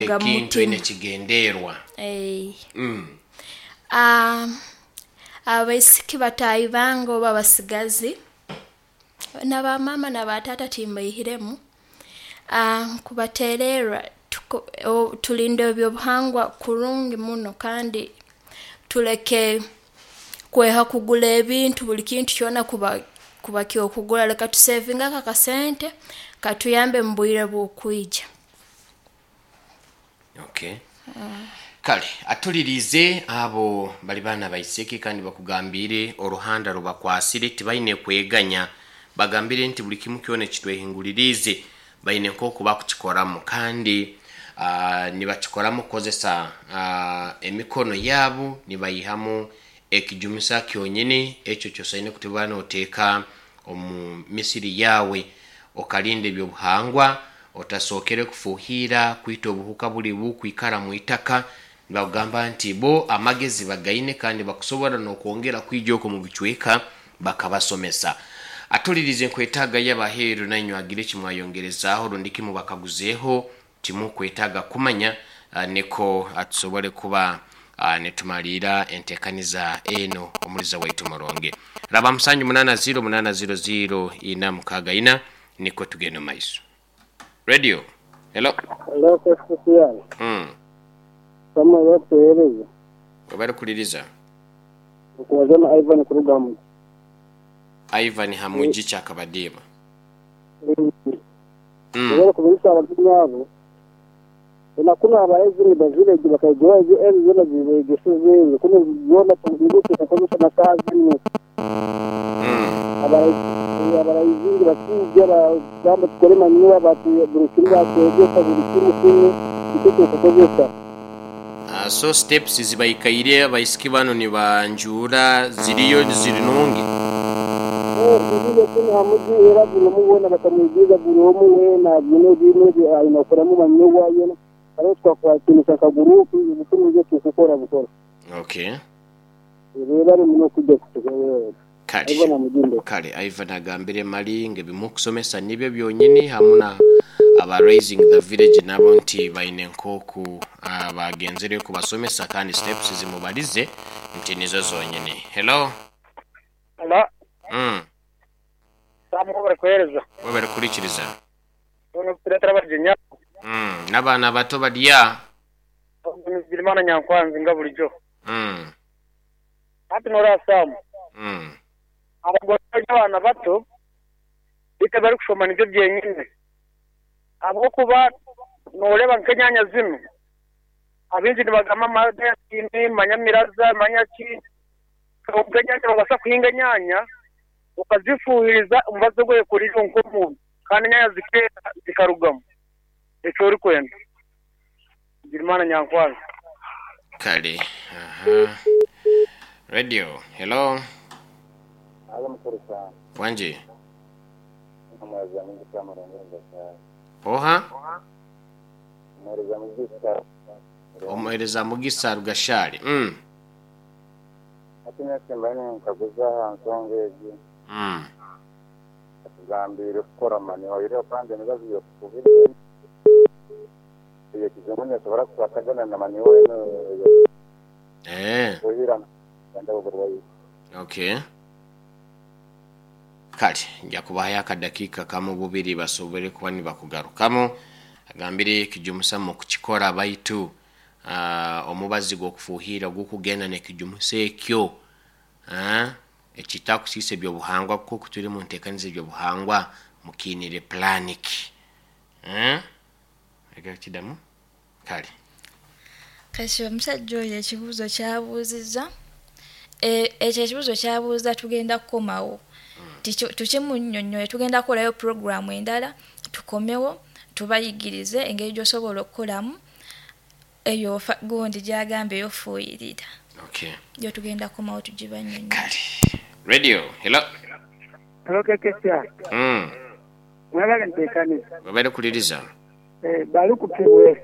Kuruga mu Ekintu oine mutima. Kigenderwa. Eh. Abaisiki bataahi bange oba abasigazi na bamaama na bataata timbaihiremu, nkubateererra tulinde ebyobuhangwa kurungi muno kandi tuleke kweha kugura ebintu, buli kintu kyona kuba ky'okugura. Leka tusevinge ako akasente katuyambe mu bwire obukwija. Okay, kale atulirize abo bali baana baiseke kandi bakugambiire oruhanda rubakwasire, tibaine kweganya. Bagambire nti buli kimu kyona ekitwehinguliriize baine nk'oku bakukikoramu kandi nibakikoramu kukozesa emikono yaabo, nibayihamu ekijumisa kyonyini ekyo kyosaine kuba noteeka omu misiri yaawe, okalinda ebyobuhangwa otasookere kufuuhiira kwita obuhuka buli bukwikara mu itaka. Nibakugamba nti bo amagezi bagaine kandi bakusobora n'okwongera kwija okwo mu bicweka bakabasomesa. Atulirize, nkwetaaga y'abaheeru nainywe agire kimwayongerezaaho rundi kimu bakaguzeeho timukwetaaga kumanya, niko tusobole kuba nitumaliira enteekaniza eno. Omuliza waitu murungi raba 780 800 464, niko tugende omu maiso. Radio, hello. Hello, KCCI. Samuel okutuheereza. Webale kuliriza. Okubaza na Ivan kuruga Hamugi. Ivan Hamugi Kyakabadiima. Webale kubirisa abagenyi abo. Na kunu abaezi ni ba village bakaigura ezo ezo zona zibeegesize kunu zona tuziruke kukozesa na saaha zinu. Abaraizingi bakiija bagamba tukore manure, buli kimu batwegesa, buli kimu kunu nikyo tukukozesa. So steps zibaikaire abaisiki bano nibanjuura ziriyo ziri nungi? Ziriyo kunu Hamugi, era buli omu weena bakamwigiriza, buli omu weena byona ebintu ebi aine kukoramu manure yona. Haro twakwatiinisa nka guruupu, buli kimu nikyo tukukora bukora. Okay. Webale muno kujja kutuheereza. Kale. Ivan Amuginde. Kale Ivan agambire mali nga ebimukusomesa nibyo byonyini, hamu na aba Raising the Village nabo nti baine nk'oku bagenzereyo kubasomesa kandi steps zimubalize nti nizo zonyini. Hello. Hello. Sam, webale kuheereza. Webale kuhurikiriza. Twena kutureetera abagyenyi abo. N'abaana bato barya. Ogwo ni Bigirimana Nyankwanzi nga bulijo. Hati noreeba Sam, abagore bari abaana bato beitu ebibarikushoma nibyo byenyine. Ahabw'okuba noreeba nk'enyanya zinu, abaingi nibagamba amadentini, manya miraza, manya ki, kwonka enyanya nobaasa kuhinga enyanya okazifuhiriza omubazi ogu oyekoreire iwe nk'omuntu kandi enyanya zikeera zikarugamu eki orikwenda. Bigirimana Nyankwanzi. Kale aha. Radio, hello. Halo mukuru sana. Wangi. Omuhereza Mugisa Murungi Rugashari. Oha? Omuhereza Mugisa. Omuhereza Mugisa Rugashari. Hati nyowe mbaire ninkaguza aha nsonga egi. Atugambiire kukora manure oihireho kandi emibazi y'okufuhirira ey'ekijungu neesobora kukwatagana na manure enu ey'okufuhirira kujanjaba oburwaire. Okay. Kale nja kubahayo akadakiika kamu bubiri basobole kuba nibakugarukamu. Agambire ekijumusa mukukikora baitu omubazi gw'okufuuhiira gukugenda n'ekijumusa ekyo ekitakusiisa eby'obuhangwa, kuko turi mu nteekaniza eby'obuhangwa mukiinire pulaani ki? Leka kidamu. Kale. Kasi omusajja oyo ekibuuzo ky'abuuzizza, ekyo ekibuuzo ky'abuuza tugenda kukomawo tukimunnyonnyole, tugenda kukolayo pulogulaamu endala tukomewo tubayigirize engeri gy'osobola okukolamu eyo gundi gy'agamba ey'okufuuyirira. Okay. Yo tugenda kukomawo tugibannyonnyole. Kale. Radio, hello. Hello KKCI. Mwebale ntekaniza. Webale kuliriza. Baluku Kibwera.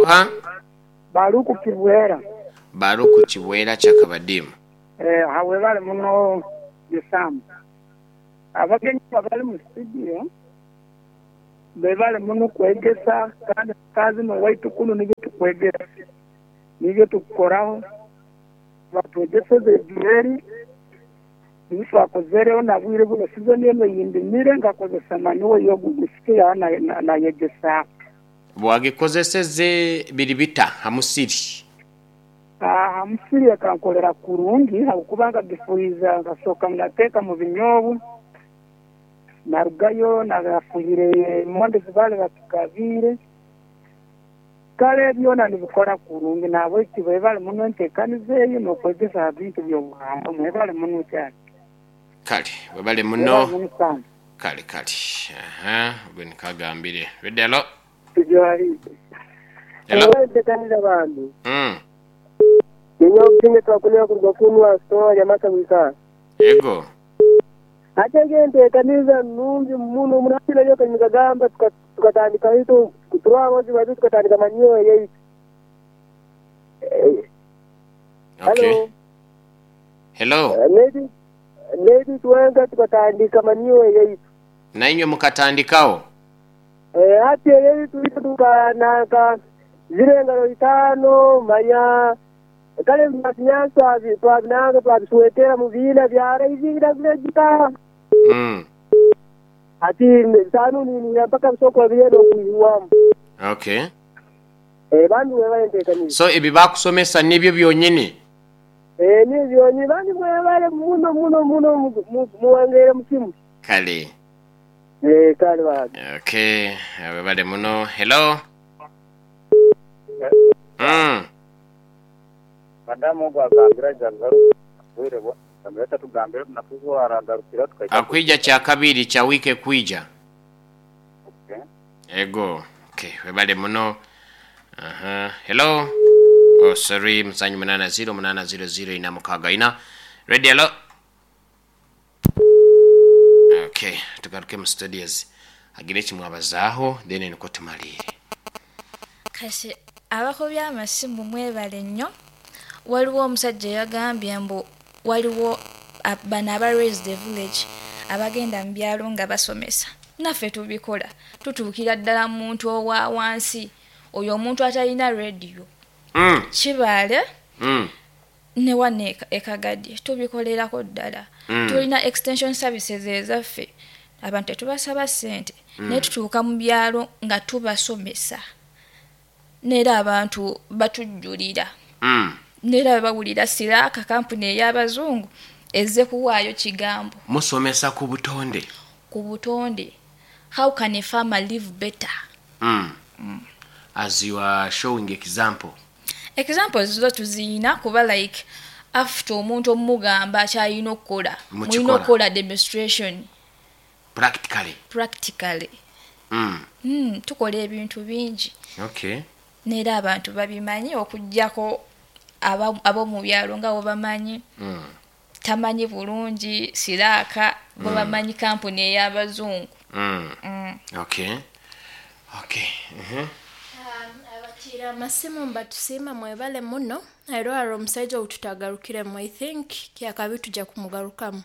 Oha? Baluku Kibwera. Baluku Kibwera Kyakabadiima. Ha webale muno Sam. Abagenyi abo abali mu studio. Bebale muno kwegesa kandi kazi n'owaitu kunu nibyo tukwegesa. Nibyo tukukoraho. Batwegeseze ejureri nibyo twakozereho na bwire buno season eno yindimire ngakozesa manuwa y'ogugusike nayegesa. Bwagikozeseze biri bita hamusiri? Hamusiri akankolera kurungi habwokuba nkagifuhiza nkasoka nateeka mu binyobu narugayo nagafuhire emondi zibale batugabiire kale byona nibikora kurungi nahabweki bwebale muno enteekaniza eyo n'okwegesa ha bintu by'obuhangwa mwebale muno cyane. Kale webale muno. Kale kale, aha gwe nikagambire. Ready, hello. Tujwali. Hello. Enteekaniza bantu. Ninyowe obusinge twakunira kuruga kunwa store ya Masa. Ego. Ate enteekaniza nungi muno munakira yo kanyigagamba tukatandika hito kuturwa wazi tukatandika manyo yaitu. Okay. Hello. Maybe tuwenga tukatandika manyo yaitu. Na inywe mukatandikao? Hati yaitu tukanaka zile ngalo 5 manya kale masinyasa twabinanga twabiswetera mu bina byara izingira vilejita. Ati tano ni mpaka msoko byendo kuyiwamu. Okay. Bandu webale ntekanyiza. So ebi bakusomesa nibyo byonyini? Nibyo byonyini bandu webale muno muno muno muwangere mukimu. Kale. Kale ba. Okay, webale muno. Hello. Madamu ogwagambira jagaru bwire bwa ameta tugambira tunakuzo aragarukira tukaita akwija cha kabiri cha wike kuija. Okay. Ego. Okay, webale muno. Aha. Hello. Oh sorry, msanyu 80 800 ina mukaga ina. Ready, hello. Okay, tugaruke mu studios. Agire kimwabazaaho then niko tumalire. Kasi abakobya amasimu mwebale nnyo. Waliwo omusajja yagambye mbu waliwo bano aba Raise the Village abagenda mu byalo nga basomesa. Naffe tubikola, tutuukira ddala muntu owa wansi, oyo omuntu atalina radio. Kibaale ne wano Ekagadi tubikolerako ddala. Tulina extension services ezaffe, abantu tetubasaba ssente, naye tutuuka mu byalo nga tubasomesa. Neera abantu batujjulira. Neera bawulira Siraaka kampuni ey'abazungu ezze kuwaayo kigambo. Musomesa ku butonde. Ku butonde. How can a farmer live better? As you are showing example. Examples zo tuziyina kuba like after omuntu omugamba akyalina okukola. Mulina okukola demonstration. Practically. Tukola ebintu bingi. Okay. Neera abantu babimanyi okuggyako abo mu byalo nga bo bamanyi. Tamanyi bulungi Siraaka bo bamanyi kampuni ey'abazungu. Okay. Okay. Abatira amasimu mbatusiima mwebale muno. Era omusajja otutagarukiremu I think kyakabi tujja kumugarukamu.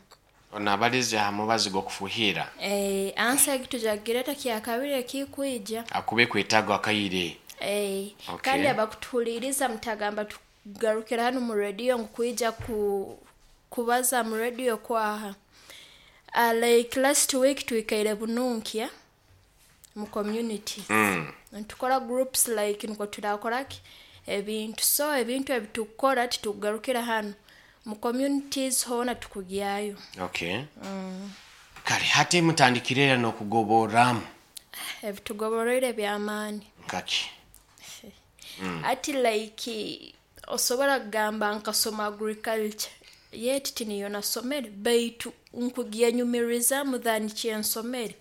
Ono abalize hamubazi g'okufuhira. Ansa tujagireta kyakabiri ekikuija. Akube kwetago akayire. Okay. Kandi abakutuhuliriza mutagamba tugarukira hano mu radio nkuija kubaza mu radio kwaha. Like last week tuikaire Bununkya mu communities. Ntukora groups like nko turakoraki ebintu so ebintu ebitukora titugarukira hano mu communities hona tukugyayo. Okay. Kale hati mutandikirera n'okugoboramu. Ebitugoborere by'amaani. Nkaki. Ati like osobola kugamba nkasoma agriculture yet tiniyo nasomere baitu nkugyenyumirizamu than kyensomere.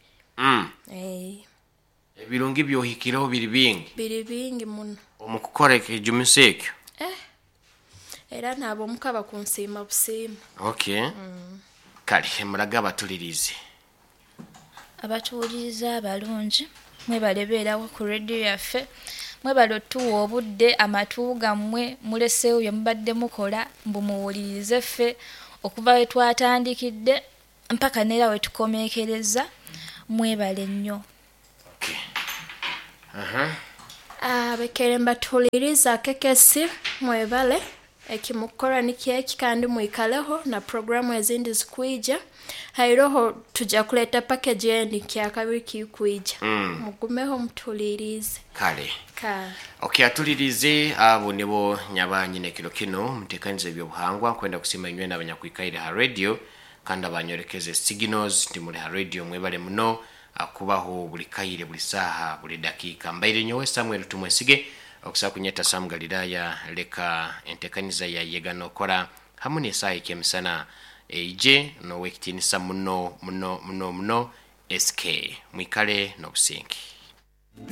Ebirungi byohikireho biri bingi. Biri bingi muno. Omukukora ekijumiso ekyo. Era nabo mukaba kunsiima busiima. Okay. Kale muraga abatulirize. Abatuwuliriza abalungi mwebale beerawo ku radio yaffe. Mwebale otuwa obudde amatu gammwe muleseewo bye mubadde mukola mbu muwulirize ffe okuva we twatandikidde mpaka neera we tukomekereza. Mwebale nnyo. Okay. Aha. Abakaire mbatuhuliriza kekesi mwebale ekimukukora nikyo eki kandi mwikaleho na programu ezindi zikwija hairoho tujja kuleta package endi kyakabiri kikwija. Mugumeho mutuhulirize. Kale. Ka. Okay, atulirize abo nibo nyabanyine kiro kino mutekanize ebyobuhangwa kwenda kusima inywe n'abanyakwikaire ha radio kandi abanyorekeze signals nti muli ha radio mwebale muno akubaho buli kaire buli saha buli dakika. Mbaire nyowe Samuel Tumwesige okusa kunyeta Sam Galilaya. Leka entekaniza ya yega nokora hamu n'esaaha ekyemisana eije n'owekitinisa muno muno muno muno SK. Mwikale n'obusinge.